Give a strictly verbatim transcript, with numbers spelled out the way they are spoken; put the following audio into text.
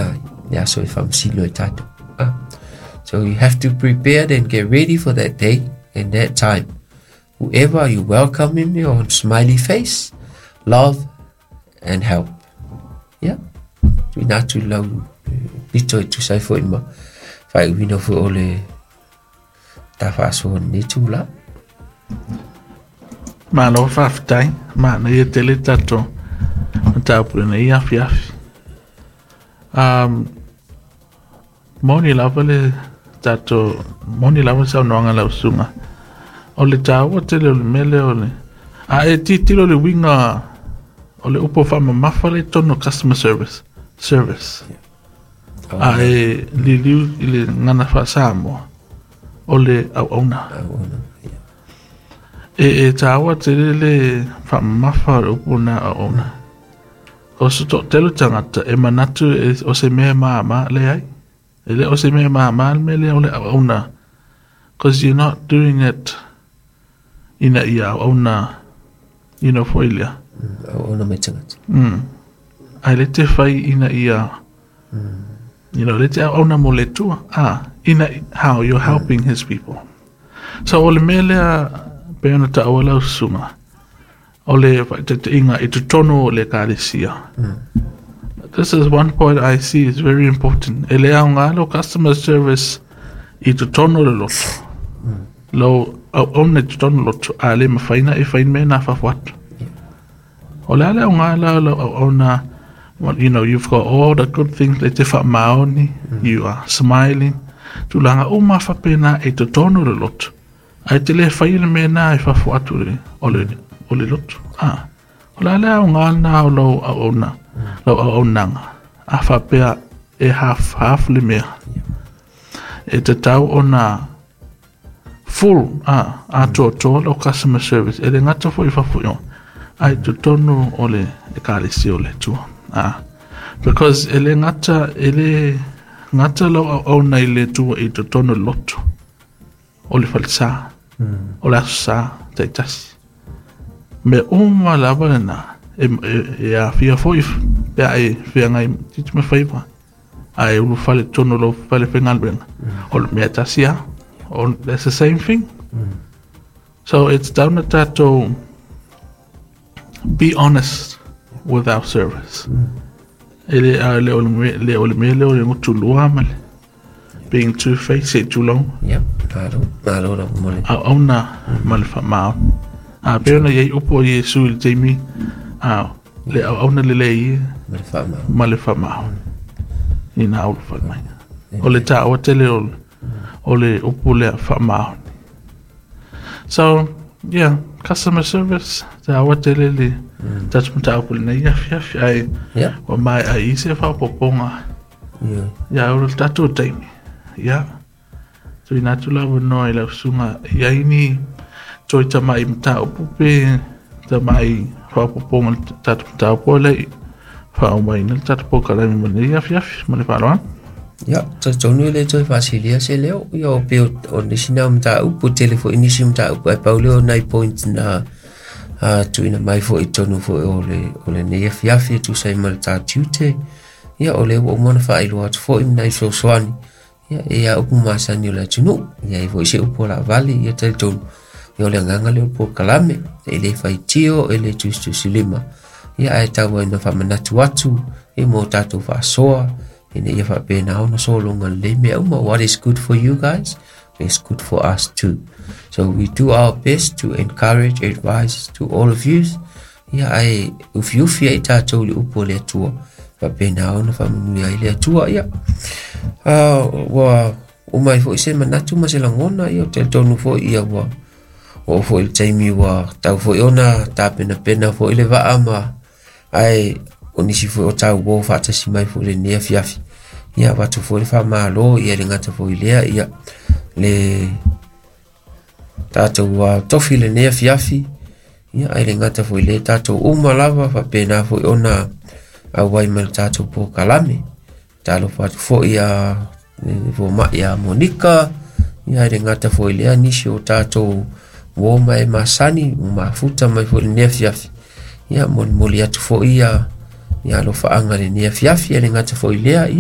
tapena ai le aso e faamasino ai tatou. Ah. So you have to prepare and get ready for that day and that time. Whoever you welcome in your smiley face, love and help. Yeah. Tuuina atu lau pito e tusa ai foi ma faaiuina foi o le ta faasoa i lenei itulā. Malo faafetai, manaia tele tatou mataupu i lenei afiafi. Um, moni lava le tatou, moni lava le saunoaga a lau susuga. O le taua tele o le mea lea o le, a e tilotilo i le uiga o le upu faamamafa lea i totonu o customer service, service. A e liliu i le gagana faa-Samoa, o le auauna. Auauna, yeah. E, e taua tele le faamamafa o le upu lena auauna. O se toatele o tagata e manatu e, o se mea mama, leai. E le o se mea mama le mea lea o le auauna. Because you're not doing it ina ia auauna, you know, foi lea. Mm, auauna mai tagata. Mm. Ae le te fai ina ia, you know, le te auauna mo le Atua. Ah, ina, how you're helping his people. So o le mea lea, pei ona taua lau susuga, o le faataitaiga i totonu o le ekalesia. This is one point I see is very important. E le aoga lau customer service i totonu o le loto. Lau auauna i totonu o le loto, a le mafai ona e fai mea na fafo atu. O le a le aoga la o lau auauna, well, you know, you've got all the good things, le te faamaoni, you are smiling, tulaga uma faapena i totonu o le loto. Ae te le fai le mea na e fafo atu le, o le, o le loto. Ah. O le a le aoga lena o lau auauna, lau auaunaga, a faapea e half, half le mea. E tatau ona full, ah, atoatoa lau customer service. E le gata foi i fafo i o, ae totonu o le ekalesia o le Atua. Ah. Because e le gata, e le gata lau auauna i le Atua i totonu o le loto, o le falesa, o le aso sa, taitasi. Mea uma lava lena, e, e, e aafia foi pe a e feagai tiute ma faiva, a e ulufale i totonu o lou fale faigaluega. O le mea tasi lava. O, that's the same thing. So it's down to tatou be honest with our service. E le, a le o le mea, le o le mea lea o le gutulua ma le being two-faced se i tulou. Yep, malo, malo lava mo le. Auauna ma le faamaoni. A pei ona i ai upu o Iesu i le taimi, a le auauna lelei ia Ma le faamaoni. ma le faamaoni ina ulufale mai. O le taua tele o, o le upu lea faamaoni. So, yeah, customer service, taua tele le tatou mataupu i lenei afiafi, ae Yeah. ua maea i se faaopoopoga Yeah. ia o le tatou taimi. Ia, tuuina atu le avanoa i lau susuga i ai ni toe tamai mataupu pe tamai faaopoopoga i le tatou mataupu lea i faaaumaina le tatou polokalame mo lenei afiafi ma le faaaloalo. Ia, talitonu e le toe faasilia se leo, ia o pei o nisi na o mataupu, tele foi nisi mataupu, ae pau lea o nai point na uh, tuuina mai foi i totonu foi o le, o lenei afiafi e tusa ai ma le ta tiute. Ia, o lea ua uma ona faailoa atu foi ma nai fesoasoani. Ia, e ia upu masani o le atunuu. Ia, e foi se upu o laavale, ia talitonu. Ia, o le agaga lea o le polokalame, e le faitio, e le tusitusilima. Ia, ae tau ai ina faamanatu atu, ia mo tatou faasoa, ina ia faapena ona sologa lelei mea uma. What is good for you guys is good for us too. So we do our best to encourage, advise to all of you. Ia, ae ufiufi ai tatou i le upu o le Atua. Faapena ona faamanuia ai le Atua. Ia, uh, ua uma ai foi se manatu ma se lagona, ia, o talitonu foi, ia, ua oo foi i le taimi ua tau foi ona tapenapena foi le vaa ma ae o nisi foi o tauo faatasi mai foi i lenei afiafi. Ia, avatu foi le faamalo, ia le gata foi lea, ia, le tatou uh, tofi i lenei afiafi, ia, ae le gata foi lea tatou uma lava faapena foi ona auai mai le tatou polokalame. Talofa atu foi ia fomai ia Monika, ia, ae le gata foi lea nisi o tatou uo ma e masani ua mafuta mai foi i lenei afiafi. Ia, molimoli atu foi ia ia alofaaga i lenei afiafi, ae le gata foi lea, ia